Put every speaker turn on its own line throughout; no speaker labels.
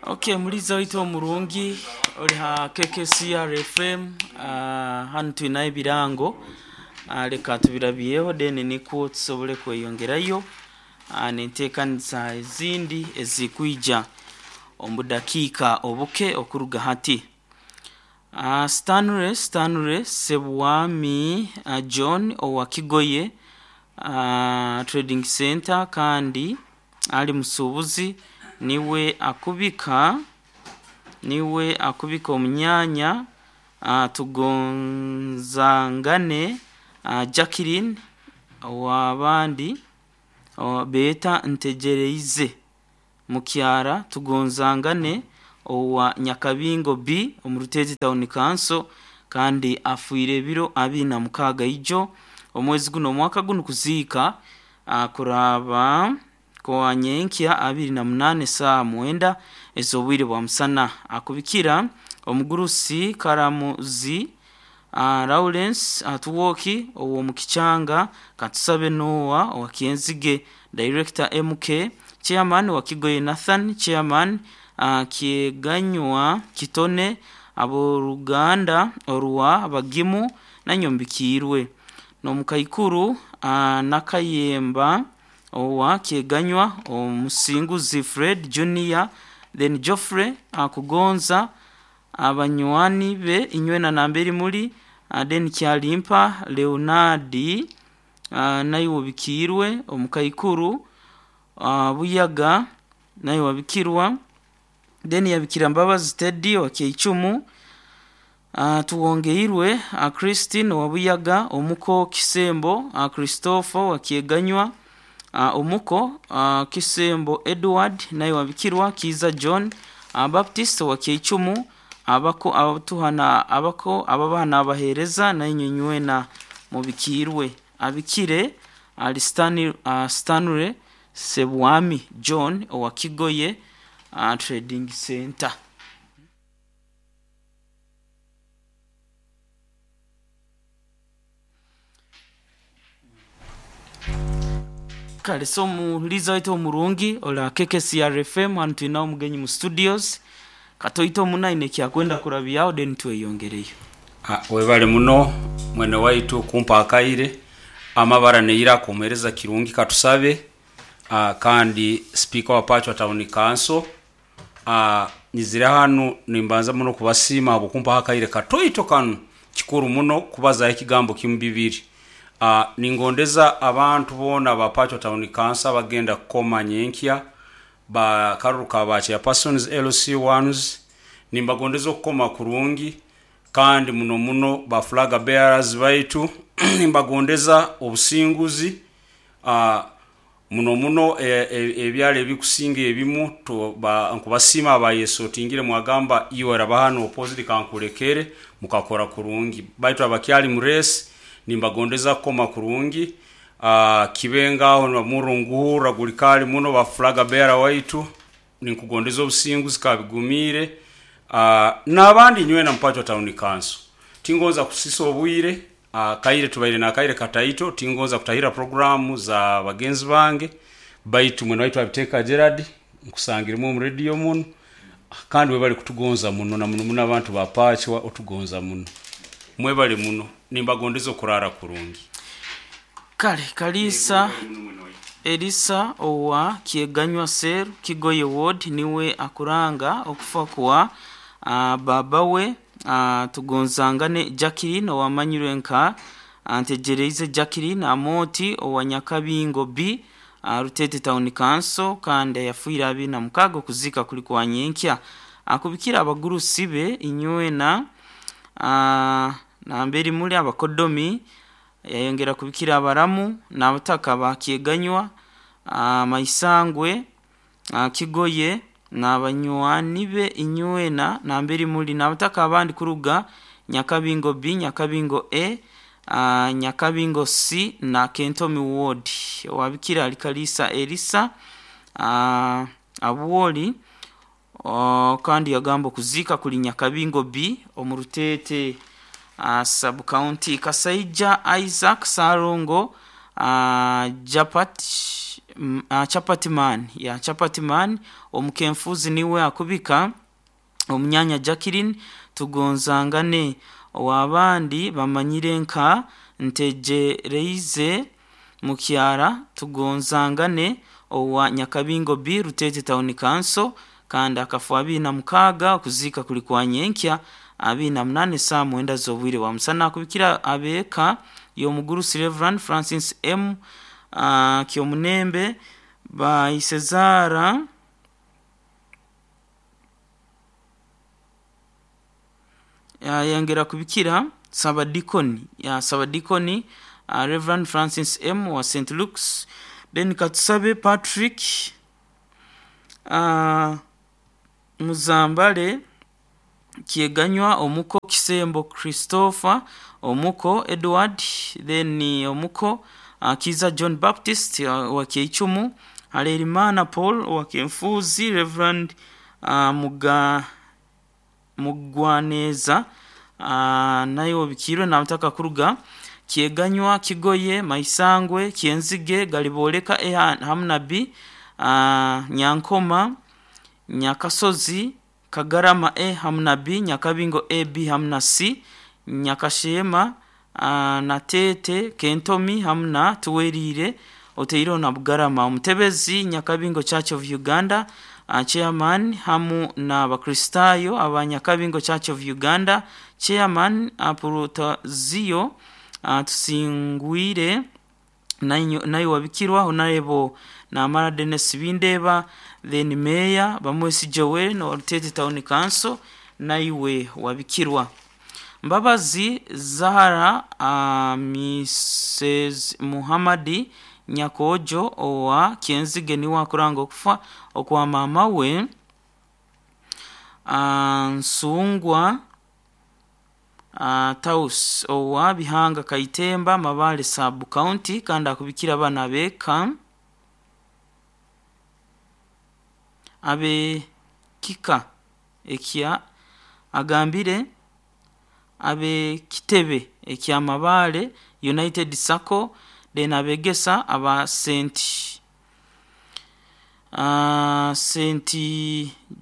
Ok muliza waitu omurungi ori ha KKCR FM hanu twinaho ebirango reka tubirabyeho then nikwo tusobole kweyongerayo n'enteekanisa ezindi ezirikwija omu budakiika obuke okuruga hati. Stanley Stanley Ssebwami John owa Kigoye Trading Centre kandi ari musuubuzi niwe akubika niwe akubika omunyanya Tugonzangane Jacqueline ow'abandi beeta Ntegyereize Mukyara Tugonzangane owa Nyakabingo B omu Ruteezi Town Council kandi afiire ebiro 26 ijo omwezi guno omwaka gunu kuziika kuraaba kwa nyenkya 28 esaaha mwenda ez'obwire bwa musana. Akubikira omugurusi Karamuzi Lawrence Atwoki ow'omu Kichanga, Katusabe Noah owa Kyenzige, Director MK, Chairman wa Kigoye Nathan, Chairman Kyeganywa Kitone, ab'oruganda orwa Bagimu Nanyombikiirwe n'omukaikuru Nakayemba owa Kyeganywa, Omusinguzi Fred Junior, then Geoffrey Kugonza, abanywani be inywena namberi muri, then Kyalimpa Leonard naiwe obikiirwe, omukaikuru Buyaga naiwe wabikirwa, then yabikira Mbabazi Teddy owa Kyeicumu, Tuwongeirwe Christine owa Buyaga, omuko Kisembo Christopher owa Kyeganywa, omuko Kisembo Edward naiwe wabikirwa, Kiiza John Baptist owa Kyeicumu, abako abatuha abako ababaha n'abaheereza nainywe inywena mubikiirwe. Abikire ali Stanley Ssebwami John owa Kigoye Trading Centre. Kale so omuhuliza waitu omurungi ori KKCR FM hanu twinaho omugenyi mu studios katoito muno aine ekyakwenda kurabyaho then tweyongereyo.
Webale muno mwene waitu kumpa akaire. Amabara neiraka omuhereza Kirungi Katusabe kandi sipiika wa Pachwa Town Council. Nyizire hanu nimbanza muno kubasiima ahabw'okumpaho akaire katoito kanu. Kikuru muno kubazaho ekigambo kimu bibiri. Ningondeza abantu boona aba Pachwa Town Council abagenda kukoma nyenkya ba karuru ka ba chairpersons, LC ones, nimbagondeza okukoma kurungi kandi muno muno ba flag bearers baitu nimbagondeza obusinguzi. Muno muno ebyaro ebikusinga ebimu nkubasiima abayesotingire mwagamba iwe oraba hanu opposite kankulekere mukakora kurungi. Baitu abakyali mu race nimbagondeza kukoma kurungi. Kibe ngaho omurro nguhurra guri kaali muno ba flag bearer waitu ninkugondeza obusinguzi kabigumiire. N'abandi inywena mu Pachwa Town Council. Tingonza kusisa obwire. Akaire tubaire n'akaire kataito, tingonza kutahirra puroguraamu za bagenzi bange, baitu mwene waitu Abiteeka Gerald nkusangiremu omu rediyo munu, kandi webale kutugonza muno na muno muno abantu ba Pachwa otugonza muno. Mwebale muno, nimbagondeza okuraara kurungi.
Kale Kaliisa Elisa owa Kyeganywa Cell, Kigoye Ward niwe akuranga okufa kwa baaba we Tugonzangane Jacqueline owamanyirwe nka Ntegyereize Jacqueline Amooti owa Nyakabingo B, Rutete Town Council kandi ayafiire 26 okuziika kuri kwa nyenkya. Akubikire abagurusi be inywena namberi muri abakodomi yayongera kubikira abaramu n'abataka ba Kyeganywa, Maisangwe, Kigoye n'abanywani be inywena namberi muri n'abataka abandi kuruga Nyakabingo B, Nyakabingo A, Nyakabingo C na Kentomi Ward. Owabikira ali Kaliisa Elisa Abwoli kandi yagamba okuziika kuri Nyakabingo B omu Ruteete Sub County. Kasaija Isaac Ssalongo Japat. Chapati man ya Chapati man omukenfuzi niwe akubika omunyanya Jacqueline tugonzangane, owabandi bamanyire nka Ntegyereize Mukyara tugonzangane, owa Nyakabingo B Rutete Town Council, kandi akafa 26 okuziika kuli kwa nyenkya 28 saa 9 z'obwire bwa musana. Akubikira abeeka y'omugurusi Reverend Francis M Kyomunembe Baisezara yayongera kubikira Sabadikoni ya Sabadikoni Reverend Francis M wa St Luke's. Then Katusabe Patrick Muzambale Kyeganywa omuko Kisembo Christopher omuko Edward, then omuko Kiza John Baptist wa Kyeichumu, Halerimana Paul wa Kenfuzi, Reverend Mugwaneza naye obikirwe namutaka kuruga Kyeganywa Kigoye Maisangwe Kyenzige Galiboleka E hamu na B Nyankoma Nyakasozi Kagarama E hamu na B Nyakabingo A B hamu na C Nyakashema na Tete Kentomi hamu na Tuwerire Oteiro na Bugarama. Omutebezi Nyakabingo Church of Uganda chairman hamu na Bakristayo aba Nyakabingo Church of Uganda chairman Apurutazio Tusingwire nayo wabikirwa Honorable Namara Dennis Bindeba, then Mayor Bamwesi Joel no Rutete Town Council naiwe wabikirwa. Mbabazi Zahara Mrs Muhammadi Nyakojo owa Kyenzige niwe akuranga okufa okwa mama we Nsungwa Taus owa Bihanga Kaitemba Mabale Sub County, kandi akubikira abana beka abe kika ekya agambire abe kitebe ekya Mabale United Sacco, then abegesa aba Saint Saint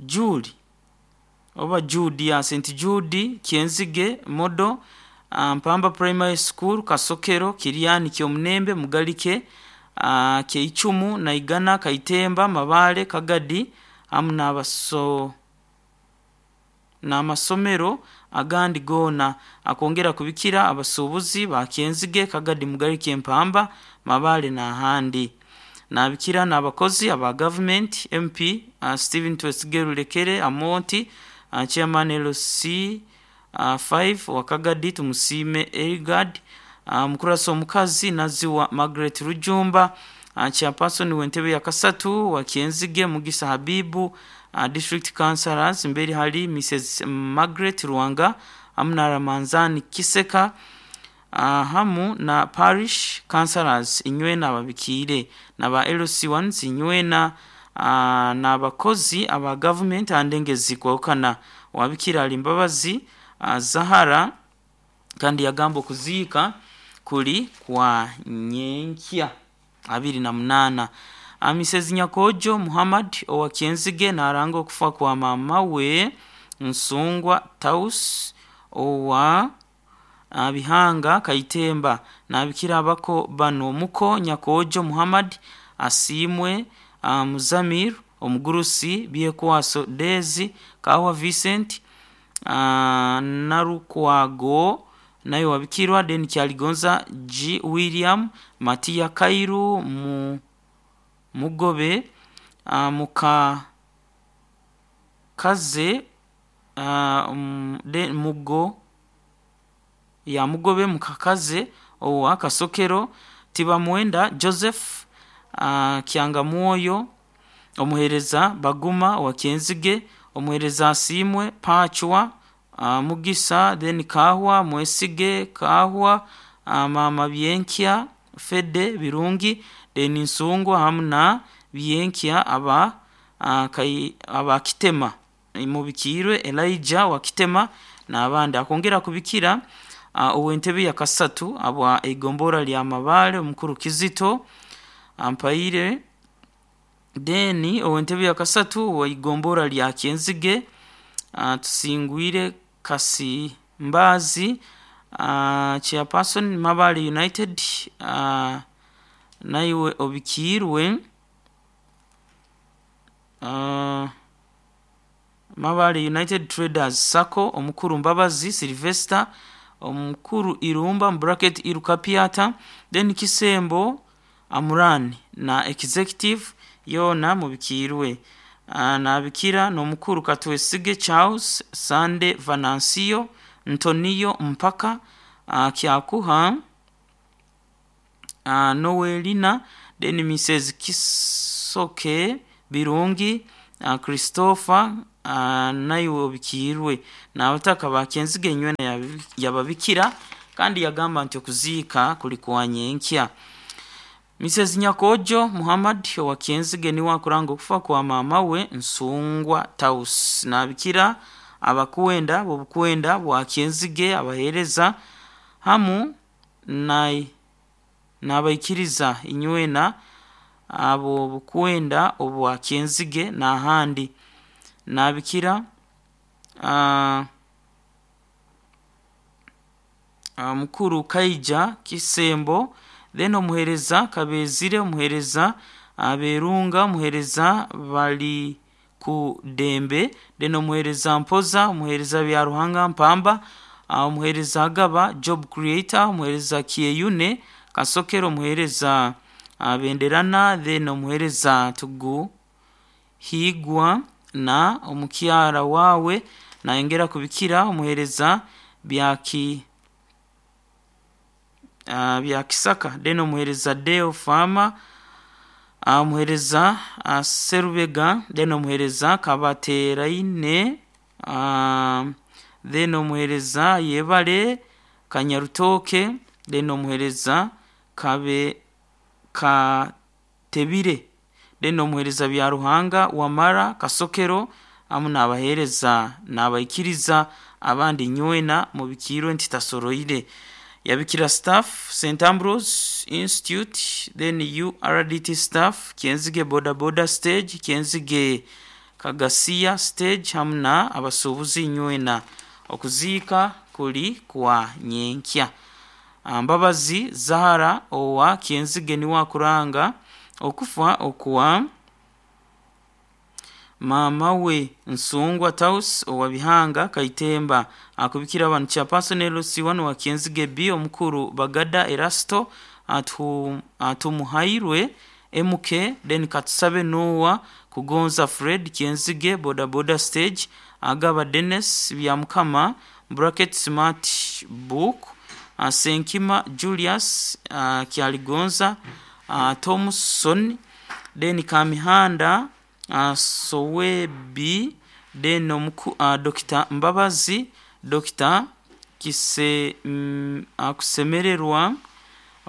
Jude oba Jude ya Saint Jude Kyenzige Modo Mpamba Primary School Kasokero Kiriani Kyomunembe Mugalike Kyeichumu Naigana Kaitemba Mabale Kagadi hamu n'abaso n'amasomero agandi goona. Akongera kubikira abasuubuzi ba Kyenzige Kagadi Mugalike Mpamba Mabale n'ahandi. Nabikira n'abakozi aba government MP Stephen Twesige Rulekere Amonti chairman LC 5 wa Kagadi Tumusiime Elgard mukurasa omukazi Naziwa Margaret Rujumba chairperson w'entebe ya kasatu wa Kyenzige Mugisa Habibu district councillors mberi hali Mrs Margaret Ruwanga hamu na Ramanzani Kiseka hamu na parish councillors inywena ababikiire na ba LC1 inywena n'abakozi aba government andengezi kwawukana. Wabikira ali Mbabazi Zahara kandi yagamba okuziika kuli kwa nyenkya 28. Mrs Nyakojo Muhammad owa Kyenzige naranga okufa kwa mama we Nsungwa Taus owa Bihanga Kaitemba. Nabikira abako bano omuko Nyakojo Muhammad Asiimwe Muzamir omugurusi Byekwaso Dezi Kawa Vincent Narukwago nayo wabikirwa, then Kyaligonza G William Matia Kairu Mugobe Muka Kaze de Mugo ya Mugobe Mukakaze owa Kasokero Tibamwenda Joseph Kyangamwoyo omuhereza Baguma wa Kyenzige omuhereza Asimwe Pachwa Mugisa, then Kahwa Mwesige Kahwa Mama Byenkya Fede Birungi, then Nsungwa hamu na Byenkya aba aba Kitema mubikirwe Elijah wa Kitema n'abandi. Akongera kubikira ow'entebe ya kasatu abwa igombora lya Mabale omukuru Kizito Ampaire Then ow'entebe ya kasatu owa igombora lya Kyenzige tusingwire Kasimbazi chairperson Mabale United naiwe obikiirwe Mabale United Traders Sacco omukuru Mbabazi Sylvester omukuru Irumba mu bracket Irukapiata then Kisembo Amran na executive yoona mubikiirwe nabikira n'omukuru Katwesige Charles Sande Venancio Ntonio Mpaka Kyakuha Noelina then Mrs Kisoke Birungi Christopher naiwe obikiirwe n'abataka ba Kyenzige nywena yababikira kandi yagamba nti okuziika kuli kwa nyenkya. Mrs Nyakojo Muhammad owa Kyenzige niwe akuranga okufa kwa maama we Nsungwa Taus nabikira abakwenda b'obukwenda bwa Kyenzige abaheereza hamu n'abaikiriza inywena abo bukwenda obwa Kyenzige n'ahandi nabikira mukuru Kaija Kisembo then omuheereza Kabezire omuheereza Aberunga omuheereza bali ku Dembe then omuheereza Mpoza omuheereza Byaruhanga Mpamba omuheereza Agaba Job Creator omuheereza Kyeyune Kasokero omuheereza Benderana then omuheereza Tugu Higwa na omukyara wawe nayongera kubikira omuheereza Byaki Byakisaka then omuheereza Deo Farmer omuheereza Serubega then omuheereza Kabateraine then omuheereza Yebare Kanyarutoke then omuheereza Kabe Katebire then omuheereza Byaruhanga Wamara Kasokero hamu n'abaheereza n'abaikiriza abandi nywena mubikiirwe nti tasoroire yabikira staff St Ambrose Institute then URDT staff Kyenzige boda boda stage Kyenzige Kagasiya stage hamu na abasuubuzi nywena okuziika kuli kwa nyenkya. Mbabazi Zahara owa Kyenzige niwe akuranga okufa okwa maama we Nsungwa Taus owa Bihanga Kaitemba akubikira abantu chairperson LC1 wa Kyenzige B omukuru Bagada Erasto atumuhairwe MK then Katusabe Noah Kugonza Fred Kyenzige boda boda stage Agaba Dennis Byamukama bracket smart book Senkima Julius Kyaligonza Thompson then Kamihanda Sowebi then Dr. Mbabazi Dr. Kise Kusemererwa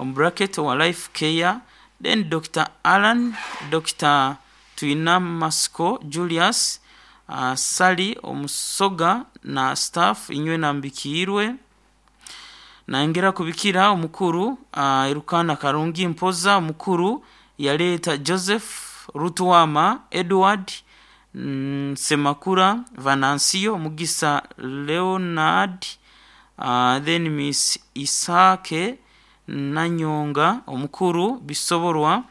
bracket wa Life Care then Dr. Alan Dr. Twinamasiko Julius Sali Omusoga na staff inywe nambikiirwe nayongera kubikira omukuru Erukana Karungi Mpoza omukuru yaleeta Joseph Rutuwama Edward Semakura Venancio Mugisa Leonard then Miss Isake Nanyonga omukuru Bisoborwa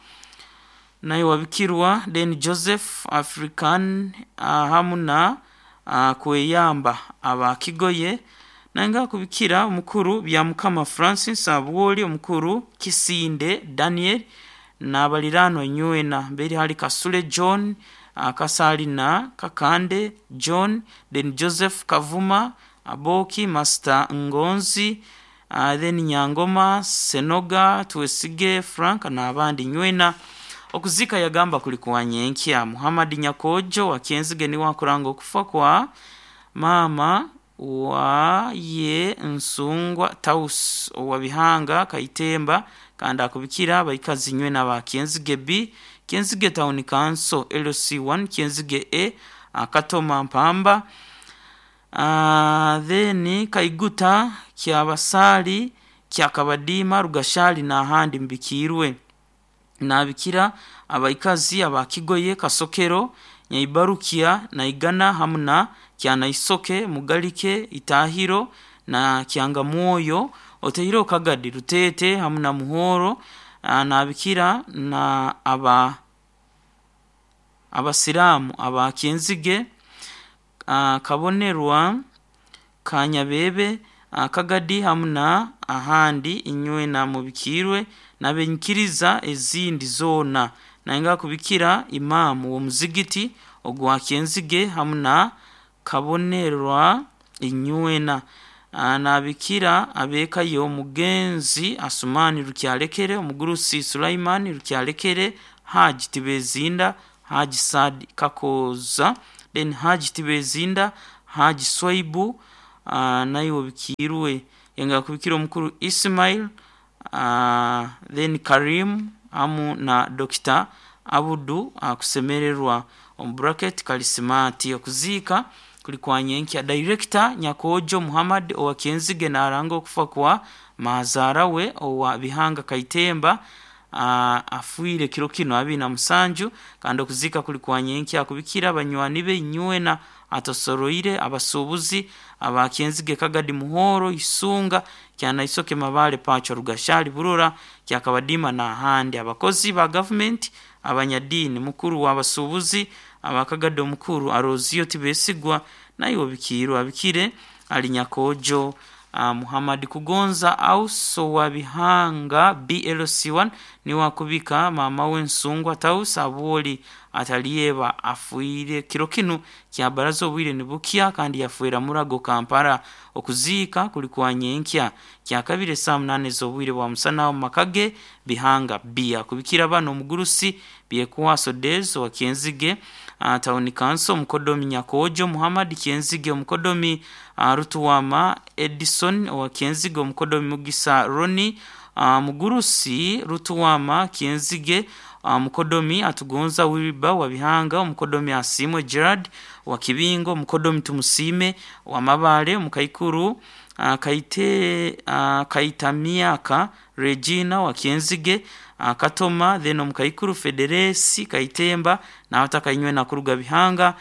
naye wabikirwa then Joseph African hamu na Kweyamba abakigoye nanga kubikira omukuru Byamukama Francis Abwoli omukuru Kisinde Daniel n'abaliraanwa nywena mberi hali Kasule John Kasalina Kakande John then Joseph Kavuma Aboki Master Ngonzi then Nyangoma Senoga Twesige Frank n'abandi nywena okuzika yagamba kuli kwa nyenkya. Muhammad Nyakojo wa Kyenzige niwe akuranga okufa kwa maama wa ye Nsungwa Taus owa Bihanga Kaitemba kandi akubikira abaikazi nywena ba Kyenzige B Kyenzige Town Council LC1 Kyenzige A Akatoma Mpamba then Kaiguta Kyabasali Kyakabadima Rugashali n'ahandi mbikiirwe. Nabikira abaikazi aba Kigoye, Kasokero, Nyaibarukia, Naigana hamu na Kyanaisoke, Mugalike, Itahiro na Kyangamwoyo, oteireho Kagadi, Rutete hamu na Muhoro. Nabikira na aba Abasiraamu aba Kyenzige, Kabonerwa, Kanyabebe, Kagadi hamu na ahandi inywena mubikirwe n'abenyikiriza ezindi zoona. Nayenga kubikira imaamu w'omuzigiti ogwa Kyenzige hamu na Kabonerwa inywena. Nabikira ab'eka y'omugenzi Asumani Rukyalekere, omugurusi Sulaiman Rukyalekere, Haji Tibezinda, Haji Saad Kakoza, then Haji Tibezinda, Haji Swaibu, naiwe obikiirwe. Yenga kubikira omukuru Ismail, then Karim hamu na Dr. Abudu akusemererwa omu bracket Kalisimati. Okuziika kuli kwa nyenkya. Director Nyakojo Muhammad owa Kyenzige naranga okufa kwa mazaara we owa Bihanga Kaitemba, afiire kiro kinu 27, kandi okuziika kuli kwa nyenkya. Akubikira banywani be inywena atosoroire abasuubuzi aba Kyenzige, Kagadi, Muhoro, Isunga, Kyanaisoke, Mabale, Pacho, Rugashali, Burora, Kyakabadima n'ahandi, abakozi ba gavumenti, abanyadiini, mukuru w'abasuubuzi aba Kagadi, omukuru Arozio Tibesigwa, naiwe obikiirwe. Abikire ali Nyakojo Muhammad Kugonza Auso wa Bihanga BLC1 niwe akubika maama w'ensungwa Taus Abwoli Atalieba, afiire kiro kinu kya baraza obwire nibukya kandi yafiira Murago, Kampala. Okuziika kuli kwa nyenkya kyakabiri esaaha 8 ez'obwire bwa musana omu maka ge Bihanga B. Akubikira bano: omugurusi Byekwaso Days owa Kyenzige Town Council, omukodomi Nyakojo Muhammad Kyenzige, omukodomi Rutuwama Edison owa Kyenzige, omukodomi Mugisa Ronnie, mugurusi Rutuwama Kyenzige, omukodomi Atugonza Wilber wa Bihanga, omukodomi Asiimwe Gerard wa Kibingo, omukodomi Tumusiime wa Mabale, omukaikuru Kaite, Kaitamiaka Regina wa Kyenzige, Katoma, then omukaikuru Federesi Kaitemba n'abataka inywena kuruga Bihanga,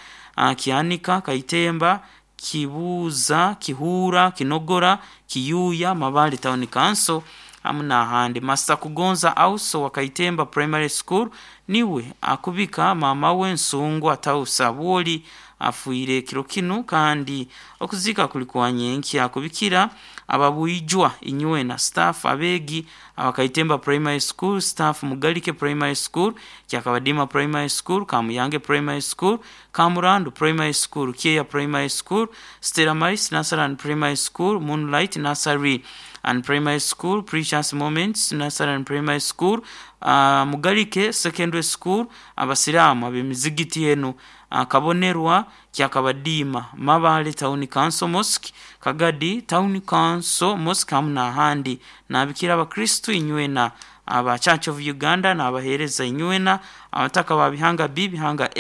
Kyanika, Kaitemba, Kibuuza, Kihuura, Kinogora, Kiyuuya, Mabale Town Council hamu n'ahandi. Master Kugonza Auso wa Kaitemba Primary School niwe akubika maama we Nsungwa Taus Abwoli, afiire kiro kinu kandi okuziika kuli kwa nyenkya. Akubikira ababwijwa inywena, staff, abeegi aba Kaitemba Primary School, staff Mugalike Primary School, Kyakabadima Primary School, Kamuyange Primary School, Kamurandu Primary School, Kyeya Primary School, Stella Maris Nursery and Primary School, Moonlight Nursery and Primary School, Precious Moments Nursery and Primary School, Mugalike Secondary School, abasiraamu ab'emizigiti enu: Kabonerwa, Kyakabadiima, Mabale Town Council Mosque, Kagadi Town Council Mosque hamu n'ahandi. Nabikira abakristu inywena aba Church of Uganda n'abaheereza inywena, abataka ba Bihanga B, Bihanga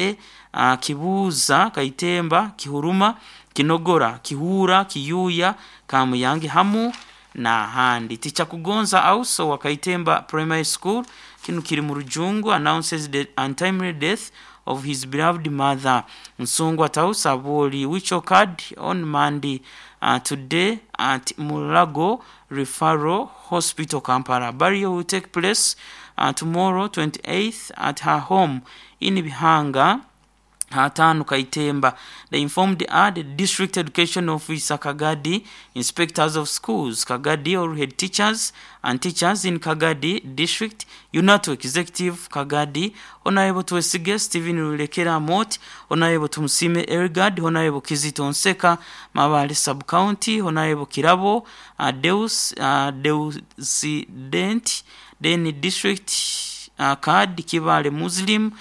A, Kibuuza, Kaitemba, Kihuruma, Kinogora, Kihuura, Kiyuuya, Kamuyange hamu n'ahandi. Teacher Kugonza Auso wa Kaitemba Primary School, kinu kiri mu Rujungu, announces the untimely death of his beloved mother Nsungwa Taus Abwoli, which occurred on Monday, today, at Mulago Referral Hospital, Kampala. Burial will take place tomorrow, 28th, at her home in Bihanga Hatanu, Kaitemba. The informed are the District Education Officer Kagadi, Inspectors of Schools Kagadi, all head teachers and teachers in Kagadi District, UNATU Executive Kagadi, Honorable Twesige Stephen Rulekera Mot, Honorable Tumusime Ergad, Honorable Kizito Nseka, Mabale Sub-County, Honorable Kirabo Deus, Deusident, then District Card Kibale Muslim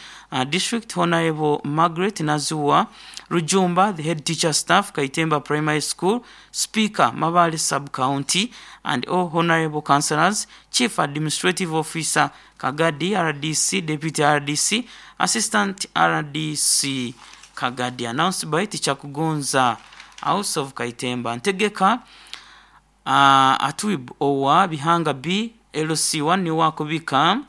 District, Honorable Margaret Nazua Rujumba, the head teacher staff, Kaitemba Primary School, Speaker, Mabale Sub-County, and all honorable councillors, Chief Administrative Officer, Kagadi, RDC, Deputy RDC, Assistant RDC, Kagadi. Announced by Teacher Kugonza, House of Kaitemba. Ntegeka Atwib owa Bihanga B, LC1 niwe akubika.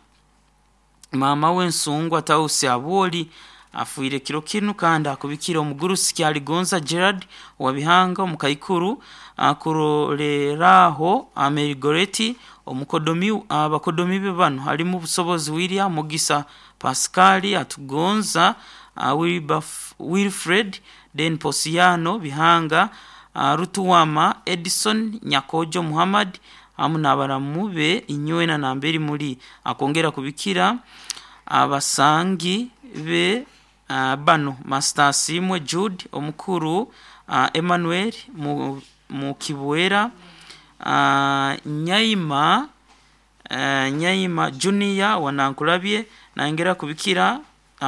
Maama we Nsungwa Tausi Abwoli afiire kiro kinu kandi akubikire omugurusi Kyaligonza Gerard owa Bihanga omukaikuru akuroreraho Mary omukodomi abakodomi be banu harimu Busobozi William Mugisa Pascal Atugonza Wilfred Den Posiano Bihanga Rutuwama Edison Nyakojo Muhammad hamu n'abaramu be inywena namberi muri akongera kubikira abasangi be bano Master Asimwe Jude omukuru Emmanuel Mukibwera Nyaima Nyaima Junior wanankulabye nangera kubikira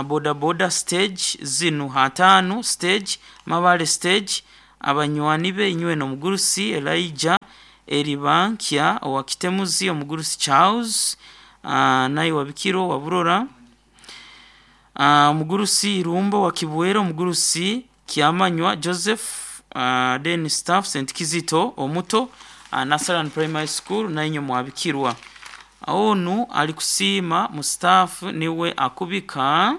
boda boda stage zinu hatano stage Mabale stage abanywani be inywena omugurusi Elijah Eribankya owa Kitemuzi omugurusi Charles naye wa Bikiro wa Burora omugurusi Irumbo wa Kibwera omugurusi Kyamanywa Joseph then staff St Kizito omuto Nasaran Primary School nainye mwabikirwa onu ali kusiima mu staff niwe akubika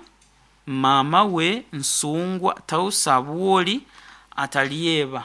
maama we Nsungwa Tausi Abwoli atalyeba.